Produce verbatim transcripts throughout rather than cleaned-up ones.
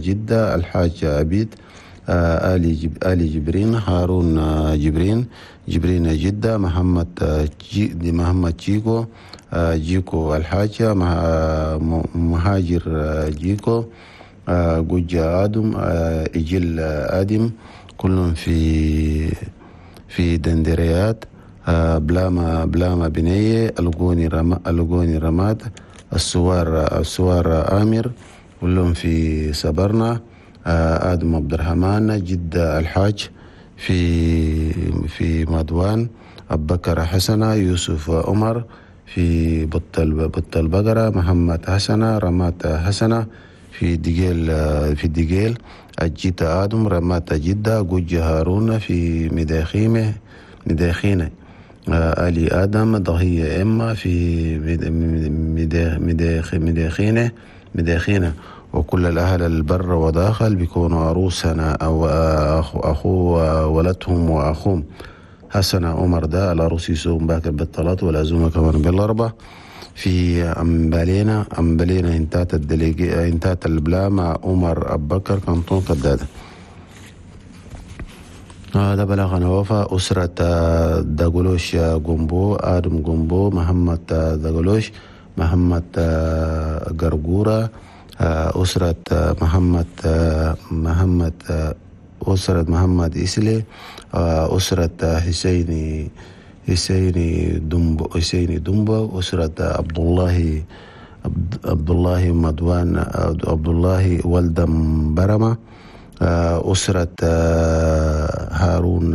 جدة الحاج أبيد، آلي جب آلي جبرين، هارون جبرين، جبرين جدة، محمد جي محمد جيكو، جيكو الحاج، مهاجر جيكو، جوجا آدم، إجل آدم، كلهم في في دندريات، بلاما بلاما بنية، القوني رما القوني رماد، السوار السوار آمر، كلهم في سبرنا، آدم عبد الرحمن، جدة الحاج في في مدوان، أبو بكر حسنة، يوسف عمر في بطل بطل بقرة، محمد حسنة، رمات حسنة في دجيل في دجيل، الجيت آدم، رمات جدة، جوج هارون في مداخيمة مداخينة، آلي آدم، ضهية إما في مداخينة مداخينة. وكل الأهل البر وداخل بيكونوا عروسنا أو أخو ولدهم وأخوهم حسن عمر ده العروس يسوم باكر بالثلاث والعزومة كمان بالأربع في أمبالينا أمبالينا انتات الدليجي انتات البلامة عمر أبو بكر كنتون كدادة. هذا بلغنا وفا أسرة داغلوش جومبو، آدم جومبو، محمد داغلوش، محمد غرغورة، أسرة محمد محمد أسرة محمد إسلي، أسرة حسيني حسيني دمبو حسيني دمبو، أسرة عبد الله عبد الله مدوان عبد الله ولد برمة، أسرة هارون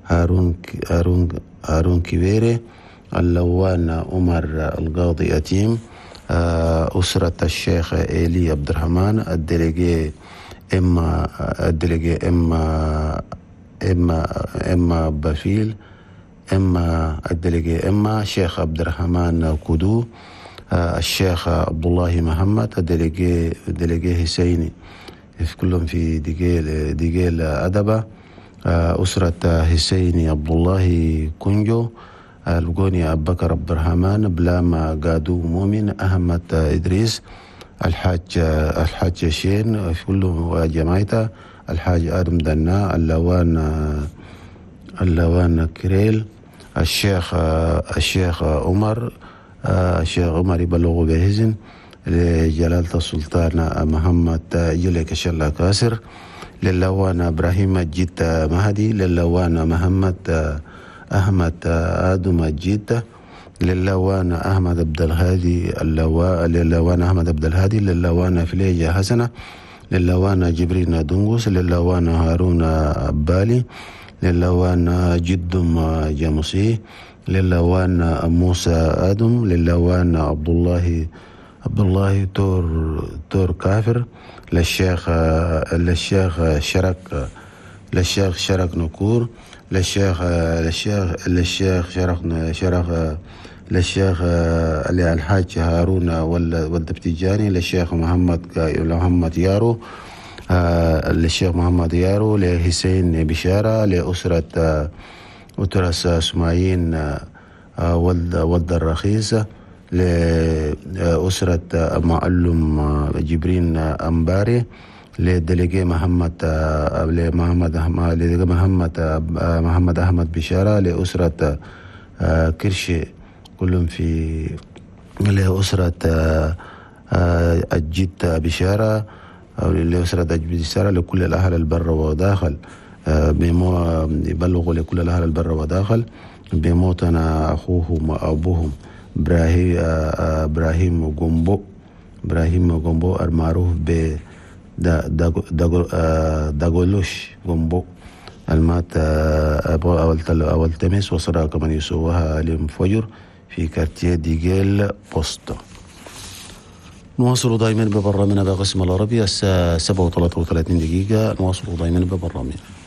هارون هارون هارون كبيري، اللوان عمر القاضي أتيم، أسرة الشيخ إيلي عبد الرحمن، الدليجي إما الدليجي إما إما إما بفيل إما الدليجي إما شيخ عبد الرحمن كودو، الشيخ عبد الله محمد، الدليجي الدليجي حسيني، في كلهم في دجيل دجيل أدبة، أسرة حسيني عبد الله كونجو، الجوني أبو بكر عبد الرحمن، بلاما قادو مؤمن، أحمد إدريس، الحاج الحاج شين، في كلهم جماعته، الحاج آدم دنا، اللوان اللوان كريل، الشيخ الشيخ عمر الشيخ عمر يبلغ بهزن لجلالة السلطان محمد جلك شلا كاسر، للوان إبراهيم جيت مهدي، للوان محمد أحمد آدم جيت، للوان أحمد عبد الهادي اللواء للوان أحمد عبد الهادي، للوان فليجة حسنة، للوان جبريل دنغوس، للوان هارون أبالي، للوان جدم جاموسي، للوان موسى آدم، للوان عبد الله عبد الله تور تور كافر، للشيخ للشيخ شرك للشيخ شرك نكور، للشيخ للشيخ للشيخ شرك شرك للشيخ الحاج هارون ولد بتجاني، للشيخ محمد محمد يارو، للشيخ محمد يارو، لحسين بشارة، لأسرة أسرة سمايين ولد ولد الرخيصة، لأسرة معلم جبرين أمباري، للدليجي محمد لمحمد محمد محمد أحمد بشارة، لأسرة كرشي كلهم في لأسرة الجد بشارة أو لأسرة الجد بشارة، لكل الأهل البر وداخل يبلغوا لكل الأهل البر وداخل بموتنا أخوهم وأبوهم إبراهيم إبراهيم جومبو إبراهيم جومبو المعروف ب داغولوش جومبو المات أول تمس وصرا كمان يسوها للفجر في كارتيه ديجيل بوستو. نواصل دائما ببرنامجنا بقسم العربي الساعة سبعة وثلاثة وثلاثين دقيقة. نواصل دائما ببرنامجنا.